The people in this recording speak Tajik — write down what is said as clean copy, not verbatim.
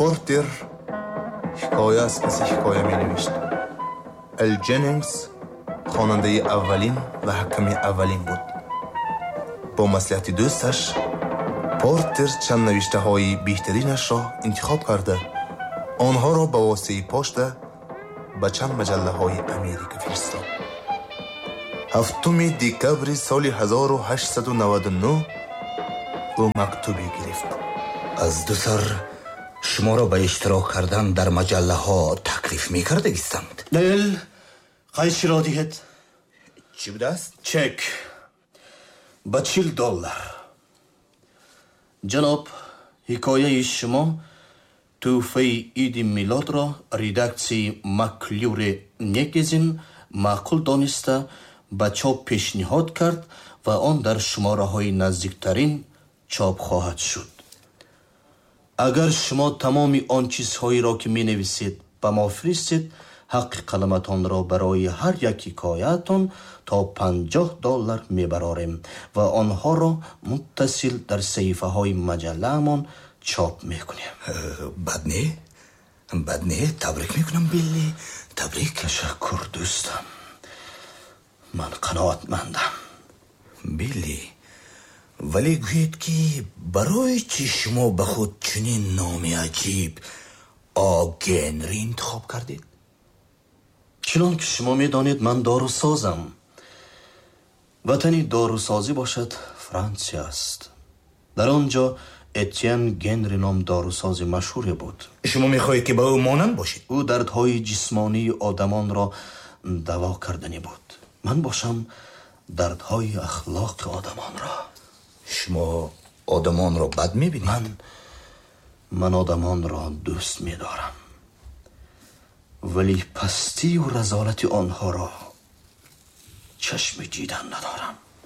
Портер ҳикоя аз паси ҳикоя менавишт. Эл Ҷеннингс хонандаи аввалин ва ҳаками аввалин буд. Бо маслиҳати дӯсташ Портер чанд навиштаҳои беҳтаринашро интихоб карда, онҳоро ба воситаи пошта ба чанд маҷаллаҳои Америка фиристод. 7 декабри соли 1899 ӯ мактубе гирифт. Аз ду сар шуморо ба иштирок кардан дар маҷаллаҳо таклиф мекардагистанд. Эл, қайчиро диҳед. Чӣ будааст? Чек ба $40. Ҷаноб, ҳикояи шумо тӯҳфаи иди милодро редаксияи Маклюре Негезин маъқул дониста, ба чоп пешниҳод кард ва он дар шумораҳои наздиктарин чоп хоҳад шуд. Агар шумо тамоми он чизҳоеро, ки менависед, ба мо фиристед, ҳаққи қаламатонро барои ҳар як ҳикояатон то $50 мебарорем ва онҳоро муттасил дар саҳифаҳои маҷаллаамон чоп мекунем. Бад не, бад не. Табрик мекунам, Билли, табрик. Ташаккур, дӯстам, ман қаноатмандам. Билли, вале гӯед, ки барои чӣ шумо ба худ чунин номи аҷиб, О Генри, интихоб кардед? Чунон ки шумо медонед, ман дорусозам. Ватани дорусозӣ бошад, Франсия аст. Дар он ҷо Этьен Генри ном дорусози машҳуре буд. Шумо мехоҳед, ки ба ӯ монанд бошед? Ӯ дардҳои ҷисмонии одамонро даво карданӣ буд, ман бошам дардҳои ахлоқи одамонро. Шумо одамонро бад мебинед? Ман одамонро дӯст медорам, вале пастию разолати онҳоро чашми дидан надорам.